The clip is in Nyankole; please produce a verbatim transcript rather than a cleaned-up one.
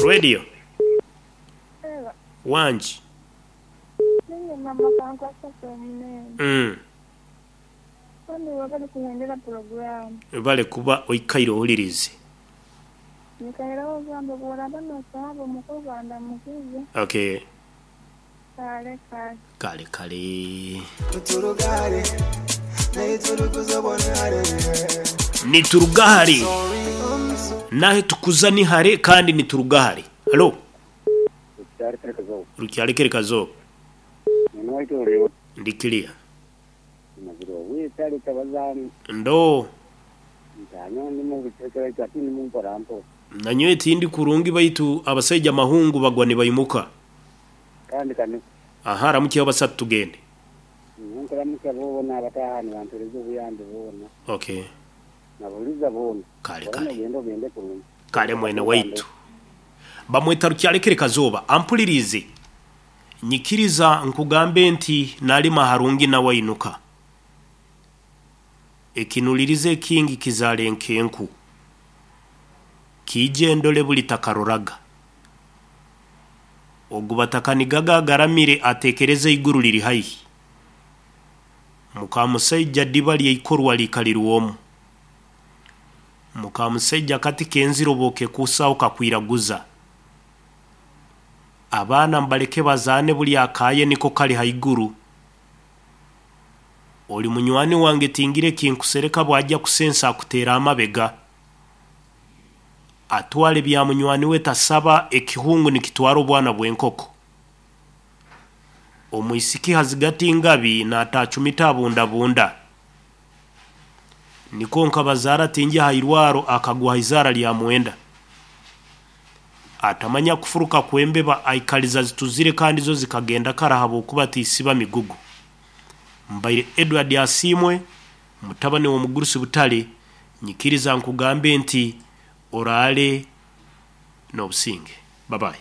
Radio wangi. Ninye mama kankwasa omunene. Mm. Kandi wabali kuhendera programu. Bale kuba oikaire owulirize. Nikairaho ogamba bw'oraba nosaba omukozi andamukize. Okay. Kale kale. Kale kale. Turugare Niturugahari. Nahe tukuza ni hare kandi niturugahari. Halo. Rukyalekere kazo. Ndi clear. Ndo. Nanyowe tindi kurungi baitu abasajja mahungu bagwa nibaimuka. Kandi kani Aha ramukiye basatu tugende. Nkoramuka boona abatahani bantereza obuyambi boona. Okay. Nabuliza boona. Kale kale. Ogende ogende kurungi. Kale mwene waitu. Bamweta Rukyalekere Kazoba ampulirize. Nyikiriza nkugambe nti nalima harungi na wainuka. Ekinulirize ekingi kizale enkenku. Kije ndole buli takaroraga. Ogubatakanigaga agaramire atekereze iguru liri haihi. Mukamusajja ddiba lyeikorwa likalirwomu. Mukamusajja kati kenziroboke kusawo kakwiraguza. Abaana mbaleke bazaane buli akaye niko kali haiguru. Oli munywani wange tingire kinkusereka bwajja kusensa akuteera amabega. Atwale bya munywani we tasaba ekihungu nikitwara obwana bw'enkoko. Omwisiki hazigati ngabi n'atacumita abundabunda. Niko nkabazaara tingi hairwaro akagwa izara lya mwenda. Atamanya kufuruka kwembeba aikaliza zituzire kandi zo zikagenda karahaba okuba tisiba migugu. Mbaire Edward Asimwe mutabani w'omugurusi Butale nyikiriza nkugambe nti oraale n'obusinge. Bye bye.